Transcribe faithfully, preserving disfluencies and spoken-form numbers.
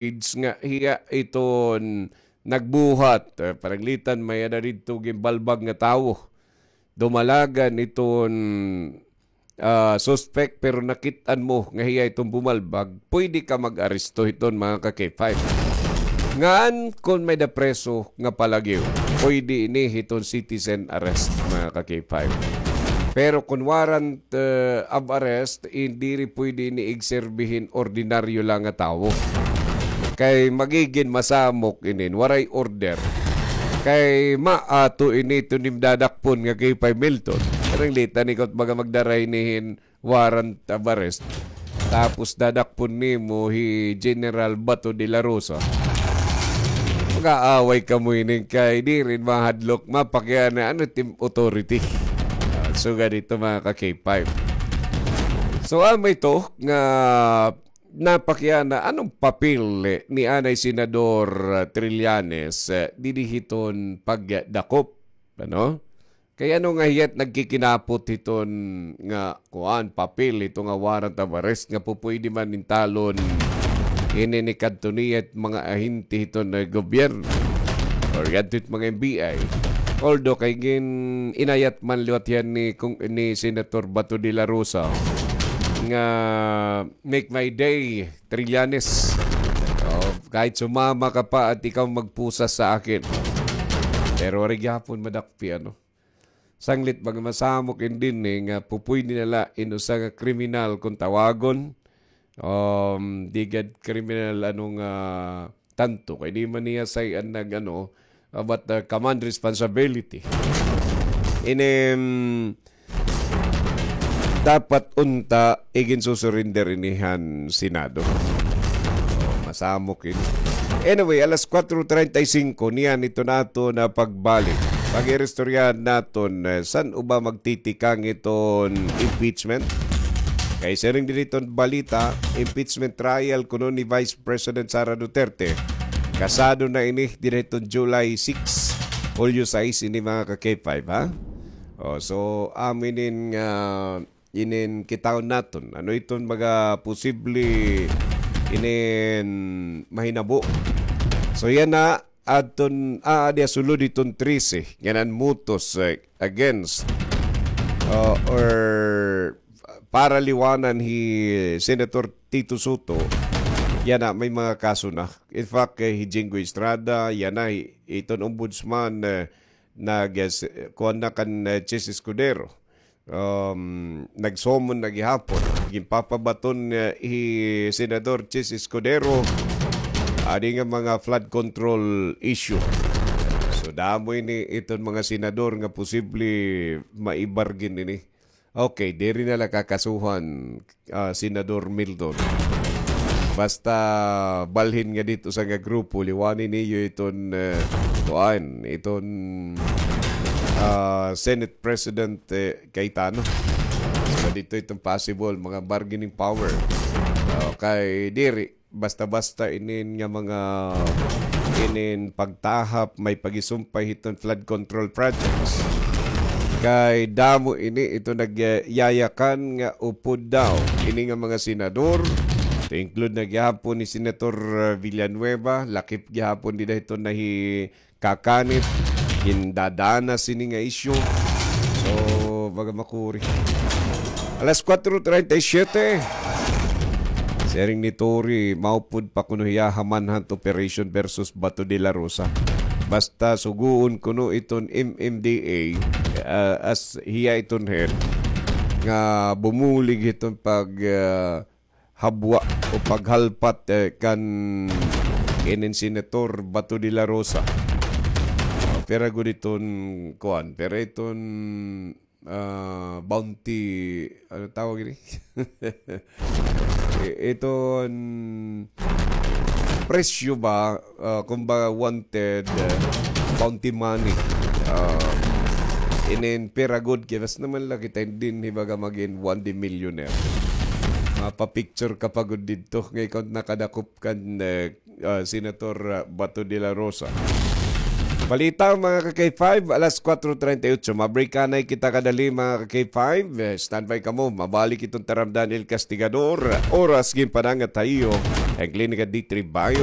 page nga hiya iton nagbuhat. Eh, pananglitan, may-ada didto ginbalbag nga tawo. Dumalagan iton, ah, suspect, pero nakit-an mo nga hiya iton bumalbag, pwede ka mag-aresto hiton, mga ka-K five. Ngan kon may-ada preso nga palagyo, pwede ini hiton citizen arrest, mga ka-K five. Pero kon warrant, eh, of arrest, diri pwede ini igserbi hin ordinaryo la nga tawo. Kay magigin masamok inin, waray order. Kay maato ini iton im dadakpon nga K five Milton. Pananglitan, ikaw it baga magdara hini hin warrant of arrest. Tapos dadakpon nimo hi General Bato de la Rosa. Mag-aaway kamo ini kay diri mahadlok, mapakiana, ano it im authority. Ah, sugad hito, mga ka-K five. So, amo ito nga napakiana, anong papel ni anay Senador, ah, Trillanes, eh, didi hiton pagdakop, ano? Kay ano nga hiya it nagkikinapot hiton nga, kuan, papel, ito nga warrant of arrest nga pupwede man intalon ini ni kadto niya it mga ahente hiton nga gobyerno or yadto it mga N B I. Although kay gin-inayat man liwat hiya ni, kung, ni Senator Bato de la Rosa nga, "Make my day, Trillanes. Oh, kahit sumama ka pa at ikaw magpusa sa akin." Pero waray gihapon madakpi, ano? Sanglit, baga masamok in dinhi nga pupwede na la in usa nga kriminal kon tawagon. Um, di gad kriminal, ano nga, tanto. Kay di man niya say-an nag, ano, about the command responsibility. Ini, um, dapat unta iginsusurrender ini han Senado. Oh, masamok ini. Anyway, alas kuwatro treinta y cinco, niyan ito naton pagbalik. Pag-iristoryahan naton, eh, san-o ba magtitikang iton impeachment? Kay siring diri iton balita, impeachment trial kuno ni Vice President Sara Duterte. Kasado na ini diri iton July six, Hulyo sais ini, mga ka-K five, ha? Oh, so, amo inin nga inin kitahon naton. Ano iton mga posible inin mahinabo? So, yana, adton, ah, aadi ha sulod iton trese, ngan an motos, eh, against, uh, or para liwanan hi Senator Tito Soto, yana, may mga kaso na. In fact, eh, hi Jinggoy Estrada, yana, hi, iton ombudsman, eh, nag, eh, s-, kuwan na kan, eh, Chiz Escudero. Um, nag-summon na gihapon. Ginpapabaton, eh, hi Senador Chiz Escudero, adi nga mga flood control issue. So, damo ini iton mga senador nga posible maibargin ini. Okay, diri na la kakasuhan, ah, Senador Milton. Basta balhin nga didto sa nga grupo, liwani niyo iton, eh, kuan, iton, ah, Senate President, eh, Cayetano. So, didto iton possible, mga bargaining power. Okay, diri. Basta-basta inin nga mga inin pagtahap may pagisumpay hiton flood control projects. Kay damo ini ito nagyayakan nga upod daw ini nga mga senador. To include na gihapon ni Senator, uh, Villanueva, lakip gihapon dida hiton nahi kakanit, gindadana sini nga isyu. So, baga makuri. Alas kuwatro treinta y siete. Siring ni Tori, maupod pa kuno hiya ha manhunt operation versus Bato de la Rosa. Basta sugoon kuno iton M M D A, ah, as hiya iton head, nga bumulig hiton pag, ah, habwa o paghalpat, eh, kan inin Senator Bato de la Rosa. Ah, pira gud iton, kuan, pira iton, ah, bounty, ano tawag ini? I-, iton presyo ba, ah, kumbaga wanted, ah, bounty money. Ah, inin pira gud kay basta naman la kita dinhi baga magin one day millionaire. Mapa-picture ka pa gud didto nga ikaw nakadakop kan, eh, ah, Senator, ah, Bato de la Rosa. Balita, mga ka-K five, alas kuwatro treinta y ocho. Mabreak anay kita kadali, mga ka-K five. Eh, standby kamo. Mabalik iton Taramdan El Castigador. Oras ginpanangat ha iyo. An Klinika D three Bio.